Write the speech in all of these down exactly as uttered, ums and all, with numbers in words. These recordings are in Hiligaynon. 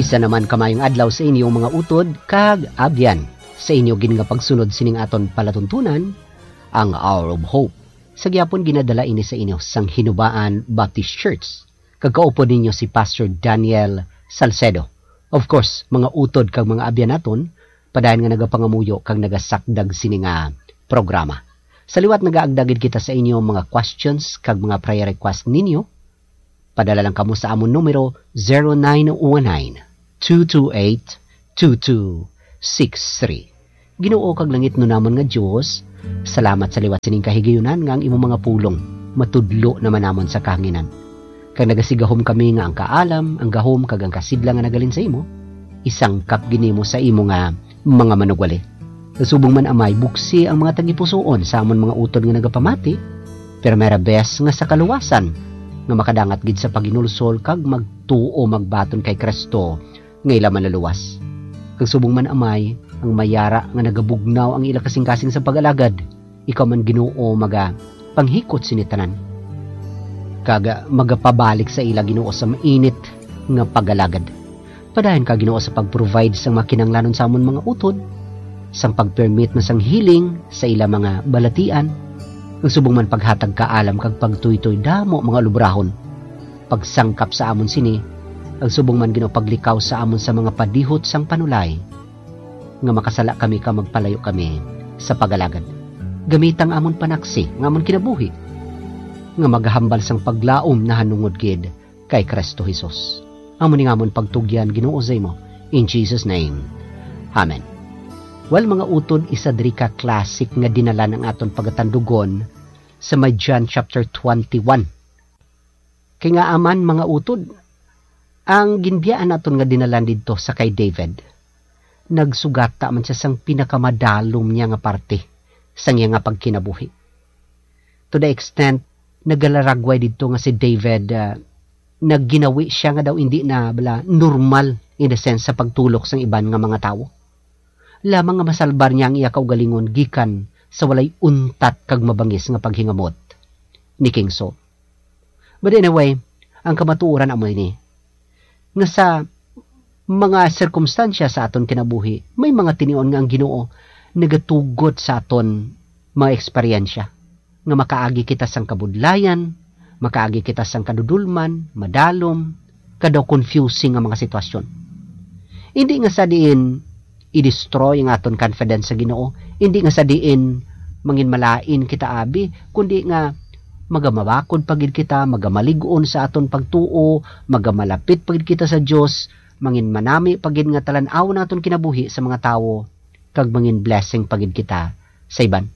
Isa naman ka maayong adlaw sa inyo, mga utod kag abyan, sa inyo gid nga pagsunod sining aton palatuntunan, ang Hour of Hope. Sa gyapon, ginadala ini sa inyo sang Hinubaan Baptist Church, kag kaupod ninyo si Pastor Daniel Salcedo. Of course, mga utod kag mga abyan naton, padayon nga nagapangamuyo kag nagasakdag sini nga programa. Sa liwat, nagaagda gid kita sa inyo mga questions kag mga prayer request ninyo. Padala lang kamo sa amon numero, zero nine one nine, two two eight, two two six three. Ginoo kag langitnon namon nga Dios, salamat sa liwat sining kahigayunan nga ang imong mga pulong matudlo naman namon sa kahanginan. Kag nagasigahom kami nga ang kaalam, ang gahom, kag ang kasidlang nga nagalin sa imo, isangkap gid nimo sa imo nga mga manugwali. Subong man, Amay, buksi ang mga tagipusoon sa amon mga utod nga nagapamati, pero may rabes nga sa kaluwasan nga makadangat gid sa paghinulsol kag magtuo, magbaton kay Cristo nga ila Manluluwas. Kag subong man, Amay, ang mayara nga nagabugnaw ang ila kasingkasing sa pag-alagad, ikaw man, Ginoo, maga panghikot sini tanan, kag magapabalik sa ila, Ginoo, sa mainit nga pag-alagad. Padayon ka, Ginoo, sa pag-provide sang mga kinahanglanon sa amon mga utod, sang pag-permit na sang healing sa ila mga balatian, kag subong man paghatag kaalam kag pagtuytoy damo mga lubrahon, pagsangkap sa amon sini, kag subong man, Ginoo, paglikaw sa amon sa mga padihot sang panulay, nga makasala kami kag magpalayo kami sa pag-alagad. Gamita ang amon panaksi, ang amon kinabuhi, nga magahambal sang paglaom nahanungod gid kay Cristo Jesus. Amo ni nga amon pagtugyan, Ginoo, sa imo. In Jesus' name, amen. Well, mga utod, isa diri ka classic nga dinalan ang aton pagatandugon sa may John chapter twenty-one. Kay nga aman, mga utod, ang ginbiyaan naton nga dinalan didto sa kay David, nagsugata man siya sang pinakamadalom niya nga parte sang iya nga pagkinabuhi. To the extent, nagalaragway didto nga si David, ah, nagginawi siya nga daw indi na bala normal, in the sense, sa pagtulok sang iban nga mga tawo. Lamang nga masalbar niya ang iya kaugalingon gikan sa walay untat kag mabangis nga paghingamot ni King Saul. But anyway, ang kamatuoran amo ini, nga sa mga sirkumstansya sa aton kinabuhi, may mga tinion nga ang Ginoo nagatugot sa aton mga eksperyensya, nga makaagi kita sang kabudlayan, makaagi kita sang kadudolman, madalom, kag daw confusing nga mga sitwasyon. Indi nga sa diin i-destroy ang aton confidence sa Ginoo, indi nga sa diin manginmalain kita abi, kundi nga magamabakod pa gid kita, magamalig-on sa aton pagtuo, magamalapit pa gid kita sa Dios, manginmanami pa gid nga talan-awon ang aton kinabuhi sa mga tawo, kag mangin-blessing pa gid kita sa iban.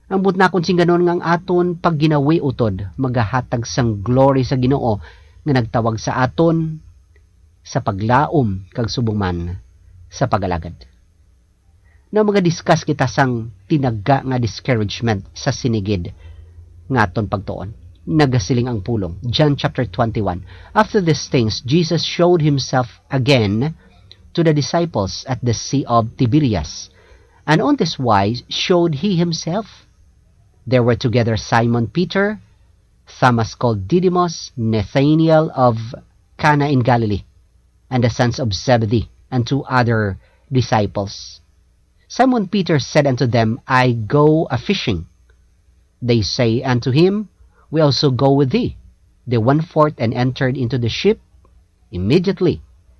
Ang buot nakon singganon nga ang aton pagginawi utod magahatag sang glory sa Ginoo nga nagtawag sa aton sa paglaom kag subong man sa pag-alagad. Now, maga-discuss kita sang tinagga nga discouragement sa sini gid nga aton pagtuon. Nagasiling ang pulong, John chapter twenty-one, "After these things, Jesus showed himself again to the disciples at the Sea of Tiberias, and on this wise showed he himself. There were together Simon Peter, Thomas called Didymus, Nathanael of Cana in Galilee, and the sons of Zebedee, and two other disciples. Simon Peter said unto them, 'I go a fishing.' They say unto him, 'We also go with thee.' They went forth and entered into the ship immediately,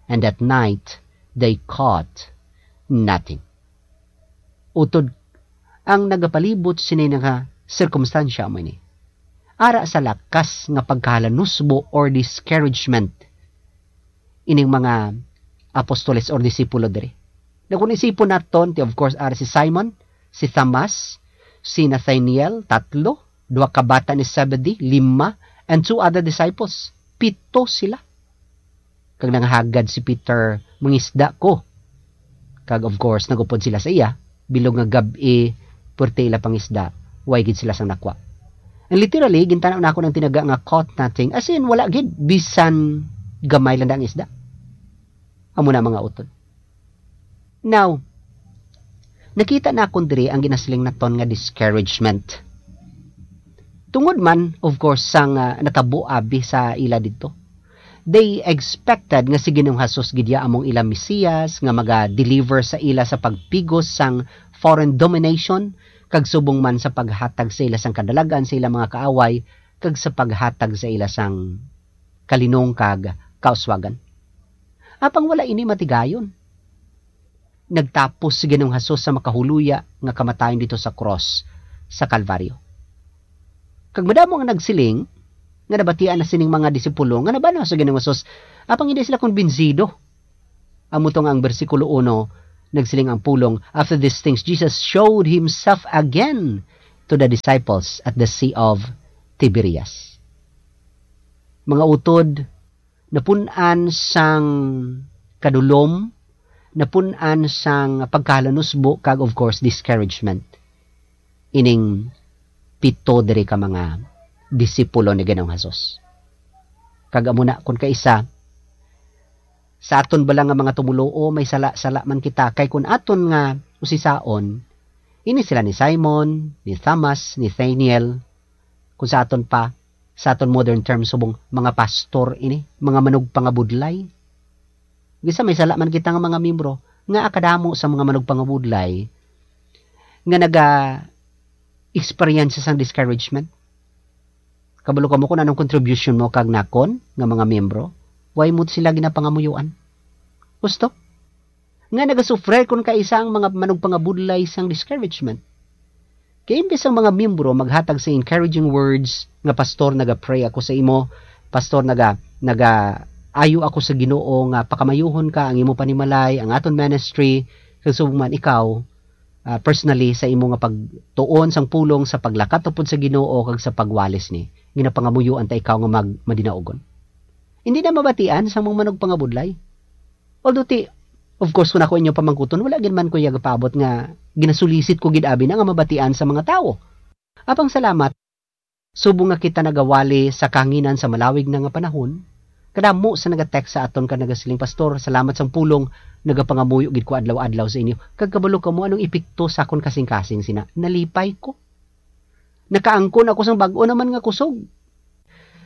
and that night they caught nothing." Utod, ang nagapalibot sini nga sirkumstansya amo ini. Ara sa lakas nga pagkahalanusbo or discouragement ining mga apostoles or disipulo diri. Na kung isipon naton, ti, of course, ara si Simon, si Thomas, si Nathaniel, tatlo, duha ka bata ni Zebedee, lima, and two other disciples, pito sila. Kag nanghagad si Peter, "Mangisda ko." Kag of course, nagupod sila sa iya, bilog nga gab-i, pwerte ila pangisda, way gid sila sang nakwa. And literally, gintanaw nako ang tinaga nga caught nothing, as in, wala gid, bisan gamay lang da ang isda. Amo na, mga utod. Now, nakita nakon diri ang ginasiling naton nga discouragement. Tungod man, of course, sang, ah, natabo abi sa ila didto. They expected nga si Ginoong Jesus gid ya among ila Mesiyas nga maga-deliver sa ila sa pagpigos sang foreign domination, kag subong man sa paghatag sa ila sang kadalagan sa ila mga kaaway, kag sa paghatag sa ila sang kalinong kag kauswagan. Apang wala ini matigayon. Nagtapos si Ginoong Jesus sa makahuluya nga kamatayon dito sa krus sa Kalbaryo. Kag madamo ang nagsiling nga nabatian na sining mga disipulo nga nabanaw sa Ginoong Jesus, apang hindi sila kumbinsido. Amo to nga ang bersikulo uno, nagsiling ang pulong, "After these things, Jesus showed himself again to the disciples at the Sea of Tiberias." Mga utod, napun-an sang kadulom, napun-an sang pagkahalanusbo, kag of course, discouragement ining pito diri ka mga disipulo ni Ginoong Jesus. Kag amo na, kun kaisa, sa aton bala nga mga tumoluo, may sala-sala man kita, kay kun aton nga usisaon, ini sila ni Simon, ni Thomas, Nathaniel, kun sa aton pa, sa aton modern terms, subong mga pastor ini, mga manugpangabudlay. Bisan may sala man kita nga mga miyembro, nga kadamo sa mga manugpangabudlay nga naga-experience sang discouragement. Kabalo kamo kung anong contribution mo kag nakon nga mga miyembro? Why mo sila ginapangamuyoan? Gusto? Nga nagasufre kun kaisa ang mga manugpangabudlay sang discouragement. Kay imbes ang mga miyembro maghatag sa encouraging words nga, "Pastor, naga-pray ako sa imo. Pastor, naga-, naga-ayo ako sa Ginoo nga pakamayuhon ka ang imo panimalay, ang aton ministry, kag subong man ikaw, ah, personally sa imo nga pagtuon sang pulong sa paglakat upod sa Ginoo kag sa pagwalis ni. Ginapangamuyoan ta ikaw nga mag-, madinaogon." Hindi na mabatian sang mga manugpangabudlay. Although ti, of course, kung ako inyo pamangkuton, wala gid man ko iya gapaabot nga ginasulisit ko gid abi na nga mabatian sa mga tawo. Apang salamat, subong nga kita nagawali sa kahanginan sa malawig na nga panahon, kadamo sa nagatext sa aton kag nagasiling, "Pastor, salamat sang pulong, nagapangamuyo gid ko adlaw-adlaw sa inyo, kag kabalo kamo anong epekto sa akon kasing-kasing sina, nalipay ko. Nakaangkon ako sang bag-o naman nga kusog."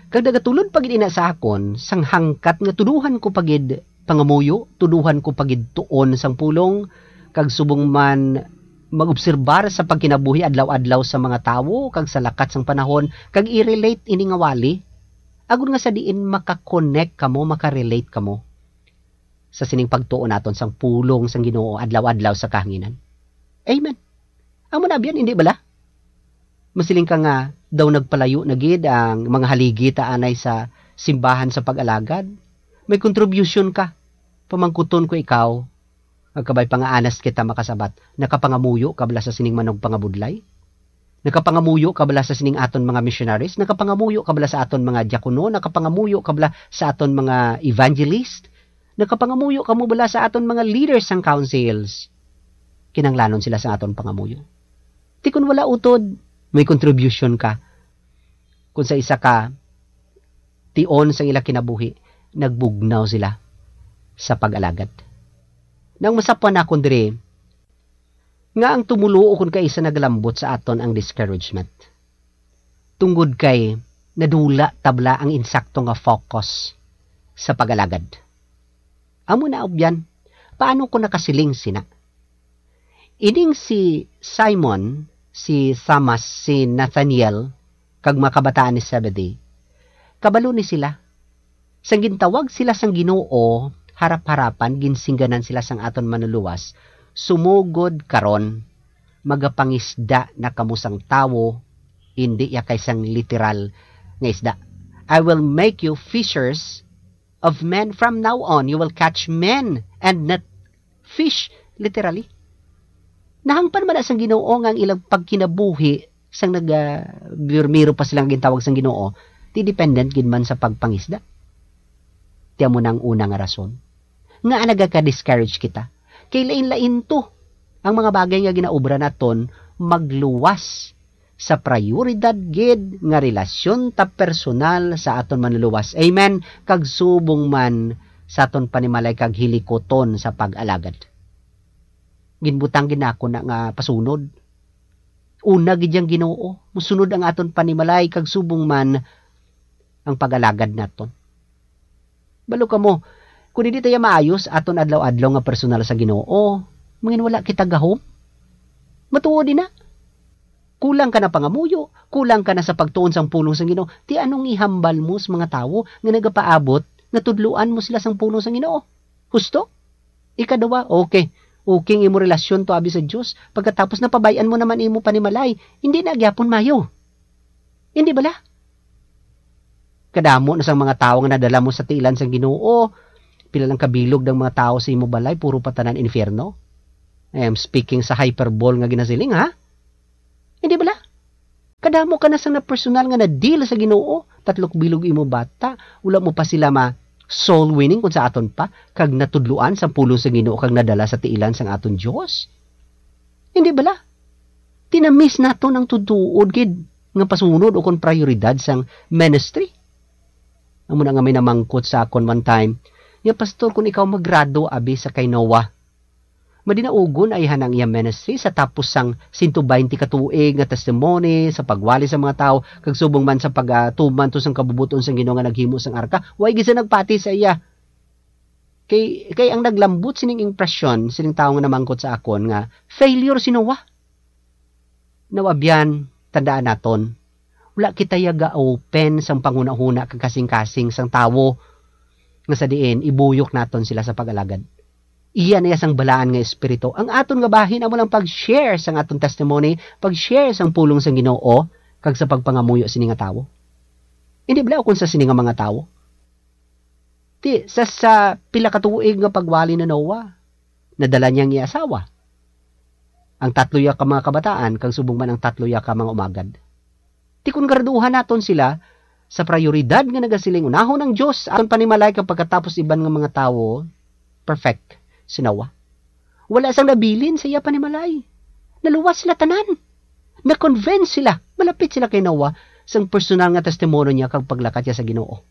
Kag nagatulod pa gid ina sa akon sang hangkat nga tuduhan ko pa gid pangamuyo, tuduhan ko pa gid tuon sang pulong, kag subong man mag-obserbar sa pagkinabuhi adlaw-adlaw sa mga tawo kag sa lakat sang panahon, kag i-relate ini nga wali, agod nga sa diin maka-connect kamo, maka-relate kamo sa sining pagtuon naton sang pulong sang Ginoo adlaw-adlaw sa kahanginan. Amen. Amo na biyan, hindi bala? Masiling ka nga daw nagpalayo na gid ang mga haligi ta anay sa simbahan sa pag-alagad. May contribution ka. Pamangkuton ko ikaw, agkabay pa nga honest kita makasabat, nakapangamuyo ka bala sa sining manugpangabudlay? Nakapangamuyo ka bala sa sining aton mga missionaries? Nakapangamuyo ka bala sa aton mga diakono? Nakapangamuyo ka bala sa aton mga evangelist? Nakapangamuyo kamo bala sa aton mga leaders sang councils? Kinahanglanon sila sa aton pangamuyo. Ti kon wala, utod, may contribution ka. Kung sa isa ka tion sa ila kinabuhi, nagbugnaw sila sa pag-alagad. Nang masapwan nakon diri, nga ang tumoluo kon kaisa nagalambot sa aton ang discouragement. Tungod kay nadula ta bala ang insakto nga focus sa pag-alagad. Amo na, ubyan, paano ko nakasiling sina? Ining si Simon, si Thomas, si Nathaniel, kag mga kabataan ni Zebedee, kabalo ni sila. Sang gintawag sila sang Ginoo harap-harapan, ginsingganan sila sang aton Manluluwas, "Sumugod karon, magapangisda na kamo sang tawo," indi ya kay sang literal nga isda. "I will make you fishers of men from now on. You will catch men and not fish," literally. Nahangpan man na sang Ginoo nga ang ilang pagkinabuhi sang naga-, birmiro pa sila nga gintawag sang Ginoo, ti dependent gid man sa pagpangisda. Ti amo na ang una nga rason nga nagaka-discourage kita. Kay lain-lain to ang mga bagay nga ginaobra naton, magluwas sa prioridad gid nga relasyon ta personal sa aton Manluluwas. Amen. Kag subong man sa aton panimalay kag hilikuton sa pag-alagad. Ginbutang gid nako na nga pasunod. Una gid yang Ginoo, musunod ang aton panimalay kag subong man ang pag-alagad naton. Balo kamo, kung hindi tayo maayos aton adlaw-adlaw nga personal sa Ginoo, mangin wala kita gahom. Matuod din na. Kulang ka na pangamuyo, kulang ka na sa pagtuon sang pulong sang Ginoo. Ti anong ihambal mo sa mga tawo nga nagapaabot nga tudloan mo sila sang pulong sang Ginoo? Husto? Ikaduha, okay. Okay ang imo relasyon to abi sa Dios. Pagkatapos, napabay-an mo naman imo panimalay. Hindi na gyapon mayo. Hindi bala? Kadamo na sang mga tawo nga nadala mo sa tiilan sang Ginoo. Pila lang kabilog ng mga tawo sa imo balay, puro pa tanan infierno. I am speaking sa hyperbole nga ginasiling, ha? Hindi bala? Kadamo ka na sang na personal nga na-deal sa Ginoo. Tatlok bilog imo bata, wala mo pa sila ma soul winning kung sa aton pa, kag natudloan sang pulong sa Ginoo kag nadala sa tiilan sang aton Dios. Hindi bala? Tinamis naton ang tutuod gid nga pasunod o kon prioridad sang ministry. Amo na nga may namangkot sa akon one time, nga, "Pastor, kung ikaw magrado abi sa kay Noah, madinaugon ay hanang iya ministry sa tapos sang sento baynte ka tuig nga testimony sa pagwali sa mga tawo, kag subong man sa pagatuman to sang kabubot-on sang Ginoo nga naghimo sang arka, way gid sa nagpati sa iya." Kay, kay ang naglambot sining impresyon sining tawo nga namangkot sa akon nga failure si Noah. Now, abyan, tandaan naton, wala kita ya ga-open sang panghunahuna kag kasing-kasing sang tawo nga sa diin ibuyok naton sila sa pag-alagad. Iya na iya sang balaan nga espiritu. Ang aton nga bahin amo lang pag-share sang aton testimony, pag-share sang pulong sang Ginoo, kag sa pagpangamuyo sini nga tawo. Hindi bala ukon sa sini nga mga tawo. Ti, sa, sa pila ka tuig nga pagwali ni Noah, nadala niya ang iya asawa, ang tatlo ya ka mga kabataan, kag subong man ang tatlo ya ka mga umagad. Ti kon graduhan naton sila sa prioridad nga nagasiling, "Unahon ang Dios sa aton panimalay, kag pagkatapos iban nga mga tawo," perfect si Noah. Wala sang nabilin sa iya panimalay. Naluwas sila tanan. Na-convince sila. Malapit sila kay Noah sang personal nga testimonyo niya kag paglakat niya sa Ginoo.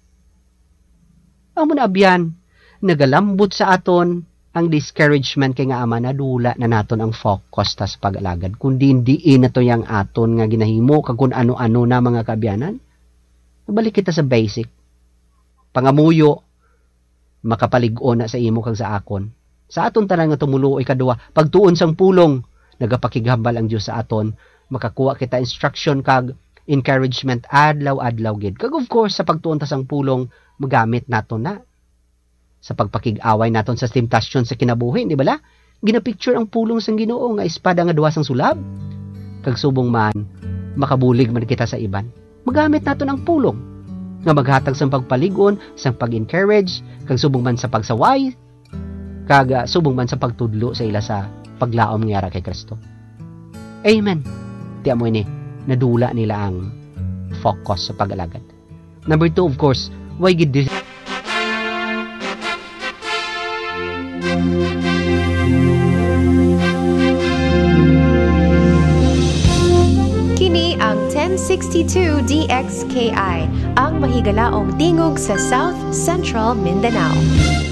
Amo na, abyan, nagalambot sa aton ang discouragement, kay nga ama, nadula na naton ang focus ta sa pag-alagad, kundi diin na to yang aton nga ginahimo kag kun ano-ano na, mga kaabyanan. Mabalik kita sa basic. Pangamuyo, makapalig-on na sa imo kag sa akon. Sa aton tanan nga tumuluo, ikaduha, pagtuon sang pulong, nagapakighambal ang Dios sa aton. Makakuha kita instruction kag encouragement adlaw-adlaw gid. Kag of course, sa pagtuon ta sang pulong, magamit naton na sa pagpakig-away naton sa temptasyon sa kinabuhi, di bala? Ginapicture ang pulong sang Ginoo nga espada nga duha sang sulab. Kag subong man, makabulig man kita sa iban, magamit naton ang pulong nga maghatag sang pagpalig-on, sang pag-encourage, kag subong man sa pagsaway, kag, ah, subong man sa pagtudlo sa ila sa paglaom nga yara kay Kristo. Amen. Ti amo ini, nadula nila ang focus sa pag-alagad. Number two, of course, why gid dis- Kini ang ten sixty-two D X K I, ang mahigalaong tingog sa South Central Mindanao.